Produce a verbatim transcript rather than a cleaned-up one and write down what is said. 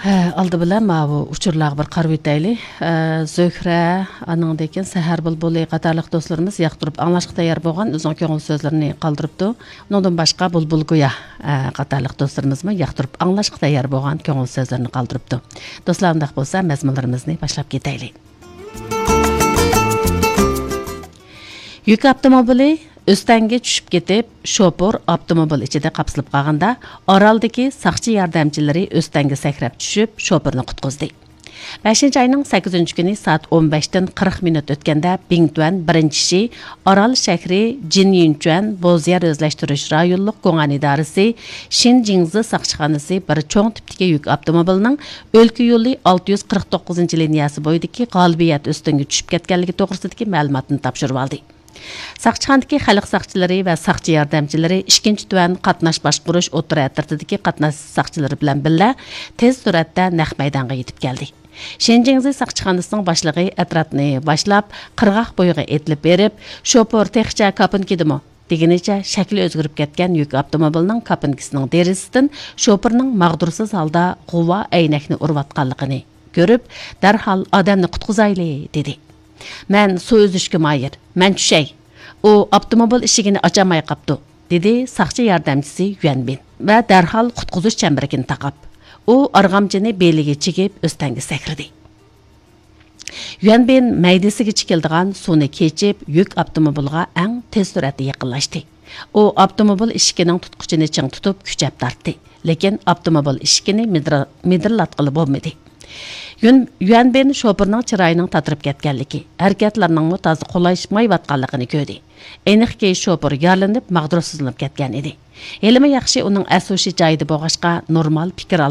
ھە، ئالدى بىلەن ماۋۇ ئۇچۇرلارغا بىر قارىۋېتەيلى. ھە، زۆھرە، ئانىڭدىن كېيىن سەھەر بۇلبۇلى قاتارلىق دوستلىرىمىز ياقتۇرۇپ ئاڭلاشقا تەييار بولغان ئۆزىنىڭ كۆڭۈل سۆزلىرىنى قالدۇرۇپتۇ. ئۇنىڭدىن باشقا بۇلبۇل گويا، ھە، قاتارلىق دوستلىرىمىزمۇ ياقتۇرۇپ ئاڭلاشقا تەييار بولغان كۆڭۈل سۆزلىرىنى قالدۇرۇپتۇ. دوستلار، ئۇنداق بولسا مەزمۇنلىرىمىزنى باشلاپ كېتەيلى. يۈك ئاپتوموبىلى ئۆستەڭگە چۈشۈپ كېتىپ، شوپۇر ئاپتوموبىل ئىچىدە قاپسىلىپ قالغاندا، ئارالدىكى ساقچى ياردەمچىلىرى ئۆستەڭگە سەكرەپ چۈشۈپ، شوپۇرنى قۇتقۇزدى. بەشىنچى ئاينىڭ سەككىزىنچى كۈنى سائەت ئون بەشتىن قىرىق مىنۇت ئۆتكەندە، بىڭتۈەن بىرىنچى شى ئارال شەھىرى جىنيۈنچۈەن بوز يەر ئۆزلەشتۈرۈش رايونلۇق گۇڭئەن ئىدارىسى شىنجىڭزى ساقچىخانىسى بىر چوڭ تىپتىكى يۈك ئاپتوموبىلىنىڭ ئۆلكە يولى ئالتە يۈز قىرىق توققۇزىنچى لىنىيەسى بويىدىكى غالىبىيەت ئۆستەڭگە چۈشۈپ كەتكەنلىكى توغرىسىدىكى مەلۇماتنى تاپشۇرۇۋالدى. ساقچىخانىدىكى خەلق ساقچىلىرى ۋە ساقچى ياردەمچىلىرى ئىككىنچى تۈەن قاتناش باشقۇرۇش ئوتتۇرا ئەترىتىدىكى قاتناش ساقچىلىرى بىلەن بىللە تېز سۈرئەتتە نەق مەيدانغا يېتىپ كەلدى. شىنجىڭزى ساقچىخانىسىنىڭ باشلىقى ئەترەتنى باشلاپ، قىرغاق بويىغا ئېتىلىپ بېرىپ، شوپۇر تېخىچە كاپىنكىدىمۇ؟ دېگىنىچە شەكلى ئۆزگىرىپ كەتكەن يۈك ئاپتوموبىلىنىڭ كاپىنكىسىنىڭ دېرىزىسىدىن شوپۇرنىڭ ماغدۇرسىز ھالدا غۇۋا ئەينەكنى ئۇرۇۋاتقانلىقىنى كۆرۈپ، دەرھال ئادەمنى قۇتقۇزايلى، دېدى. مەن سۇ ئۈزۈشكە ماھىر، مەن چۈشەي. ئۇ ئاپتوموبىل ئىشىكىنى ئاچالماي قاپتۇ، دېدى ساقچى ياردەمچىسى يۈەنبىن ۋە دەرھال قۇتقۇزۇش چەمبىرىكىنى تاقاپ، ئۇ ئارغامچىنى بېلىگە چىگىپ ئۆستەڭگە سەكرىدى. يۈەنبىن مەيدىسىگىچە كېلىدىغان سۇنى كېچىپ، يۈك ئاپتوموبىلىغا ئەڭ تېز سۈرئەتتە يېقىنلاشتى. ئۇ ئاپتوموبىل ئىشىكىنىڭ تۇتقۇچىنى چىڭ تۇتۇپ، كۈچەپ تارتتى. لېكىن ئاپتوموبىل ئىشىكىنى مىدىر-، مىدىرلاتقىلى بولمىدى. يۈن-، يۈەنبىن شوپۇرنىڭ چىرايىنىڭ تاتىرىپ كەتكەنلىكى، ھەرىكەتلىرىنىڭمۇ تازا قولايلىشمايۋاتقانلىقىنى كۆردى. ئېنىقكى، شوپۇر يارىلىنىپ، ماغدۇرسىزلىنىپ كەتكەن ئىدى. ھېلىمۇ ياخشى، ئۇنىڭ ئەس-ھوشى جايىدا بولغاچقا، نورمال پىكىر